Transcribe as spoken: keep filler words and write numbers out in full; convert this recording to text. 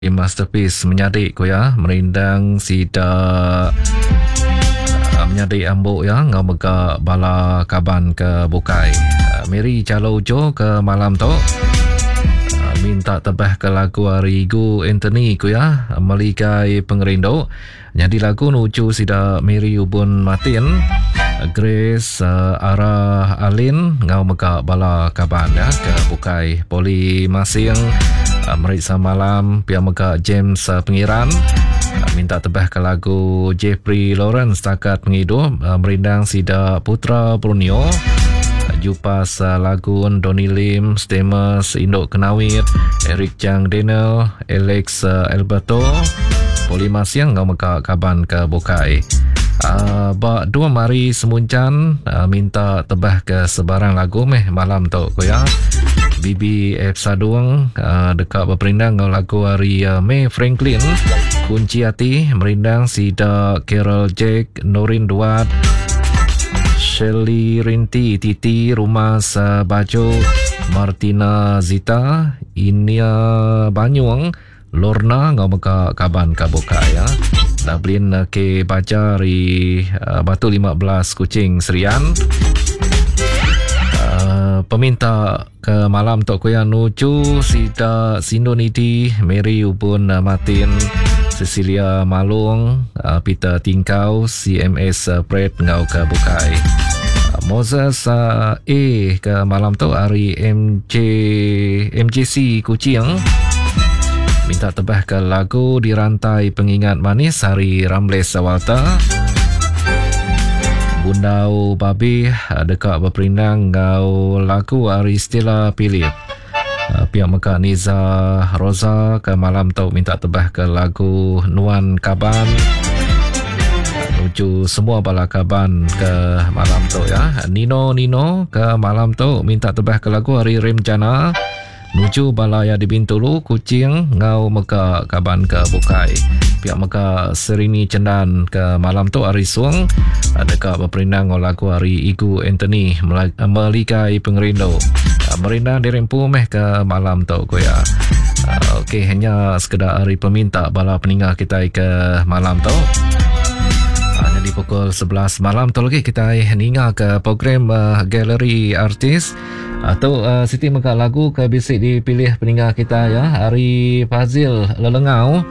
Masterpiece menyadi ku iya merindang sida uh, menyadi ambu iya ngau mega bala kaban ke bukai. Uh, Mary Jalo Jo ke malam tu uh, minta tebah ke lagu ari Gu Anthony ku iya Meligai Pengerindu. Nyadi lagu nuju sida Mary Ubun Martin, Grace uh, Ara Alin ngau mega bala kaban ya ke bukai. Poli Masing uh, Meriksa Malam pia mega James uh, Pengiran uh, minta tebah ke lagu Jeffrey Lawrence Takat Penghidup uh, merindang sida Putra Borneo uh, Jupas uh, Lagun Donny Lim Stemus Induk Kenawit Eric Chang Daniel Alex uh, Alberto Poli Masing ngau mega kaban ke bukai. Uh, ba dua mari semuncan uh, minta tebah ke sebarang lagu meh malam tu ko ya. B B F Sadung uh, dekat berperindang ngau lagu hari uh, May Franklin Kunci Hati merindang sida Carol Jack Norin Duat Shirley Rinti Titi Rumah uh, Baju Martina Zita Inia Banyuang Lorna ngau mega kaban ka bukai ya. Dublin ke baca ri uh, Batu lima belas Kuching Serian. Uh, peminta ke malam tok kuya nuju sida Sindoniti Mary Ubun uh, Martin Cecilia Malung uh, Peter Tingkau C M S uh, Pret ngau ke bukai. Uh, Moses uh, A ke malam tok hari M J, M J C Kuching minta tebah ke lagu Dirantai Pengingat Manis hari Ramles Walter. Bundau Babi dekat berperindang ngau lagu hari Stella Philip. Pihak Mekah Niza Rosa ke malam tu minta tebah ke lagu Nuan Kaban. Nuju semua bala kaban ke malam tu ya. Nino Nino ke malam tu minta tebah ke lagu hari Rimjana. Nuju balaya di Bintulu, Kuching, ngau mega kaban ke bukai. Pihak mega Serini Cendan ke malam tu hari Suang dekat berperindang ngau lagu hari Igu Anthony Meligai Pengerindu. Merindang dirempu meh ke malam tu ko ya. Okey, hanya sekedar hari peminta bala peninggal kita ke malam tu. Jadi pukul sebelas malam tu lagi kita ninga ke program uh, Galeri Artis atau uh, Siti mega lagu ke bisik dipilih peninggal kita ya hari Fazil Lelengau